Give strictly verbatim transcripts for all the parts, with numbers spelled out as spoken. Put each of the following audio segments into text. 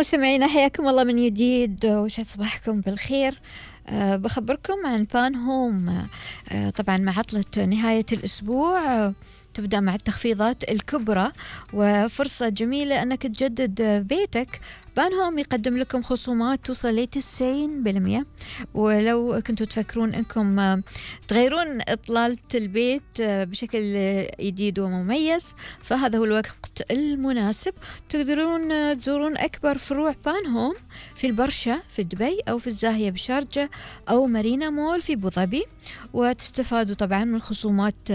مستمعينا حياكم الله من جديد وسعد صباحكم بالخير. أه بخبركم عن بان هوم. أه طبعا مع عطلة نهاية الأسبوع أه تبدأ مع التخفيضات الكبرى وفرصة جميلة أنك تجدد بيتك. بان هوم يقدم لكم خصومات توصل ل تسعين بالمئة، ولو كنتوا تفكرون أنكم تغيرون إطلالة البيت بشكل جديد ومميز فهذا هو الوقت المناسب. تقدرون تزورون أكبر فروع بان هوم في البرشا في دبي أو في الزاهية بشارجة أو مارينا مول في أبوظبي، وتستفادوا طبعا من خصومات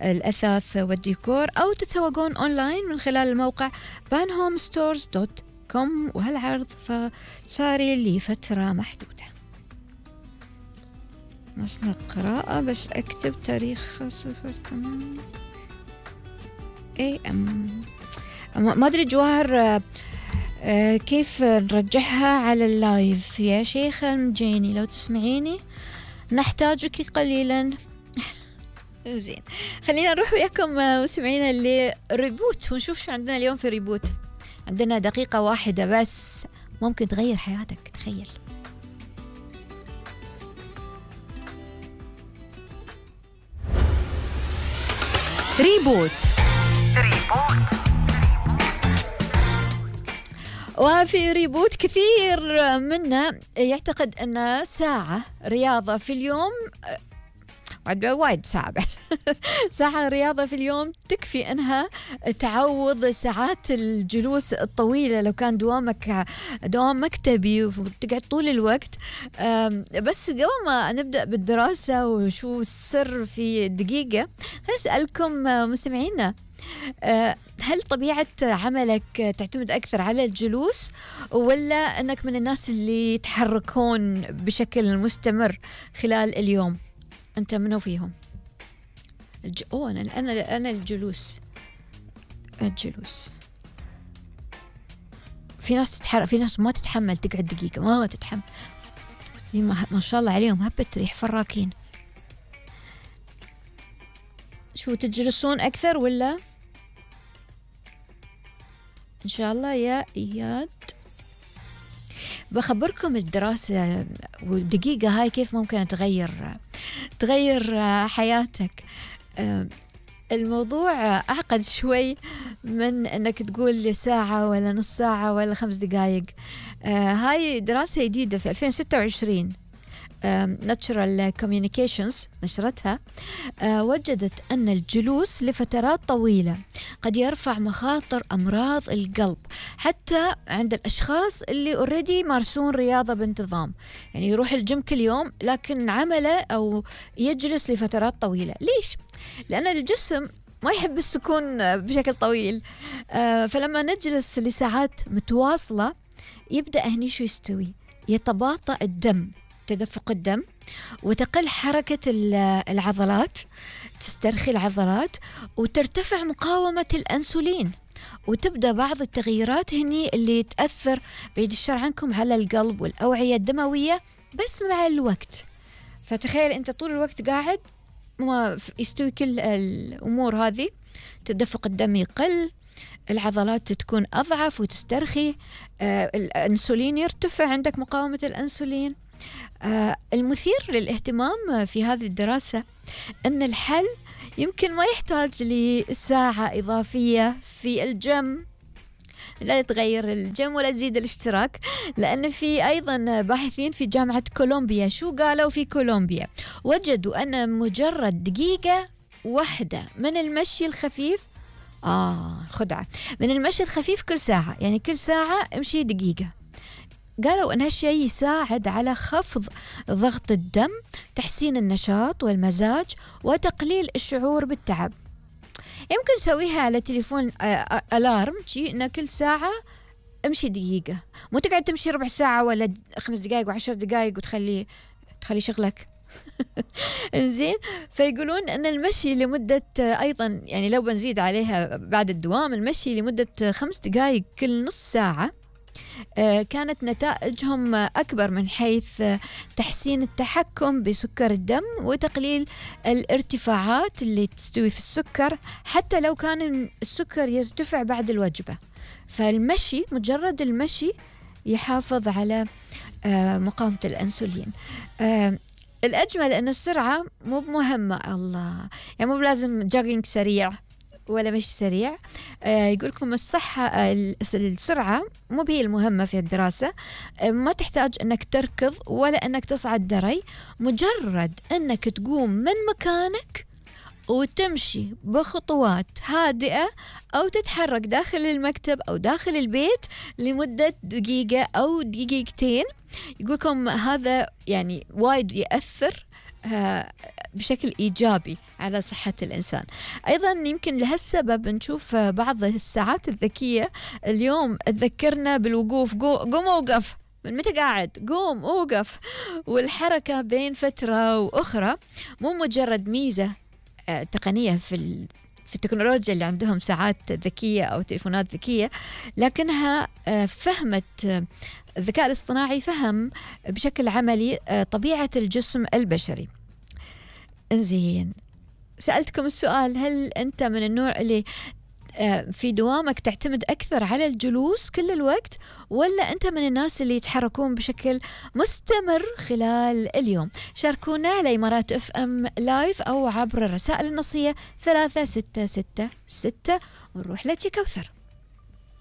الأثاث والديكور، أو تتسوقون أونلاين من خلال الموقع بان هوم ستورز دوت كوم، وهالعرض فساري لفترة محدودة. نصل القراءة بس أكتب تاريخ صفر ثمانية اي ام. ما أدري جواهر كيف نرجعها على اللايف يا شيخة مجيني، لو تسمعيني نحتاجك قليلا. زين، خلينا نروح وياكم مستمعينا لريبوت ونشوف شو عندنا اليوم في ريبوت. عندنا دقيقة واحدة بس ممكن تغير حياتك، تخيل. ريبوت. وفي ريبوت كثير منا يعتقد أن ساعة رياضة في اليوم وايد ساعة ساعة رياضة في اليوم تكفي أنها تعوض ساعات الجلوس الطويلة لو كان دوامك دوام مكتبي وتقعد طول الوقت. بس قبل ما نبدأ بالدراسة وشو السر في دقيقة، خليني أسألكم مستمعينا، هل طبيعة عملك تعتمد أكثر على الجلوس ولا أنك من الناس اللي يتحركون بشكل مستمر خلال اليوم؟ أنت منو فيهم؟ الج... أوه أنا أنا أنا الجلوس الجلوس في ناس تتحرك، في ناس ما تتحمل تقعد دقيقة، ما تتحمل. في ما, ما شاء الله عليهم هبت ريح فراكين. شو تجلسون أكثر ولا؟ إن شاء الله يا إياد. بخبركم الدراسة ودقيقة هاي كيف ممكن تغير تغير حياتك. الموضوع أعقد شوي من أنك تقول لي ساعة ولا نص ساعة ولا خمس دقايق. هاي دراسة جديدة في ألفين وستة وعشرين Natural Communications نشرتها، وجدت أن الجلوس لفترات طويلة قد يرفع مخاطر أمراض القلب حتى عند الأشخاص اللي اوريدي يمارسون رياضة بانتظام، يعني يروح الجيم كل يوم لكن عمله أو يجلس لفترات طويلة. ليش؟ لأن الجسم ما يحب السكون بشكل طويل، فلما نجلس لساعات متواصلة يبدأ هني شو يستوي؟ يتباطأ الدم، تدفق الدم، وتقل حركة العضلات، تسترخي العضلات، وترتفع مقاومة الأنسولين، وتبدأ بعض التغييرات هني اللي تأثر بعيد الشر عنكم على القلب والأوعية الدموية بس مع الوقت. فتخيل أنت طول الوقت قاعد ما يستوي كل الأمور هذه، تدفق الدم يقل، العضلات تكون أضعف وتسترخي، آه الأنسولين يرتفع، عندك مقاومة الأنسولين. آه المثير للاهتمام في هذه الدراسة أن الحل يمكن ما يحتاج لساعة إضافية في الجيم، لا تغير الجيم ولا تزيد الاشتراك، لأن في أيضا باحثين في جامعة كولومبيا شو قالوا في كولومبيا؟ وجدوا أن مجرد دقيقة واحدة من المشي الخفيف، آه خدعة، من المشي الخفيف كل ساعة، يعني كل ساعة امشي دقيقة، قالوا أن هالشيء يساعد على خفض ضغط الدم، تحسين النشاط والمزاج، وتقليل الشعور بالتعب. يمكن تسويها على تليفون ألارم شيء إن كل ساعة امشي دقيقة، مو تقعد تمشي ربع ساعة ولا خمس دقائق وعشر دقائق وتخلي تخلي شغلك. إنزين، فيقولون أن المشي لمدة أيضا، يعني لو بنزيد عليها بعد الدوام، المشي لمدة خمس دقائق كل نص ساعة كانت نتائجهم أكبر من حيث تحسين التحكم بسكر الدم وتقليل الارتفاعات اللي تستوي في السكر حتى لو كان السكر يرتفع بعد الوجبة. فالمشي، مجرد المشي يحافظ على مقاومة الأنسولين. الأجمل أن السرعة مو مهمة، الله يعني مو لازم جوجينج سريع ولا مش سريع. آه يقولكم الصحة آه السرعة مو هي المهمة في الدراسة. آه ما تحتاج أنك تركض ولا أنك تصعد دري، مجرد أنك تقوم من مكانك وتمشي بخطوات هادئة أو تتحرك داخل المكتب أو داخل البيت لمدة دقيقة أو دقيقتين. يقولكم هذا يعني وايد يأثر آه بشكل إيجابي على صحة الإنسان. أيضا يمكن لهالسبب نشوف بعض الساعات الذكية اليوم تذكرنا بالوقوف، قوم وقف، من متى قاعد؟ قوم وقف. والحركة بين فترة وأخرى مو مجرد ميزة آه تقنية في في التكنولوجيا اللي عندهم ساعات ذكية أو تليفونات ذكية، لكنها آه فهمت آه الذكاء الاصطناعي فهم بشكل عملي آه طبيعة الجسم البشري. انزين، سألتكم السؤال، هل أنت من النوع اللي في دوامك تعتمد أكثر على الجلوس كل الوقت، ولا أنت من الناس اللي يتحركون بشكل مستمر خلال اليوم؟ شاركونا على إمارات اف ام لايف أو عبر الرسائل النصية ثلاثة ستة ستة ستة ونروح لك كوثر.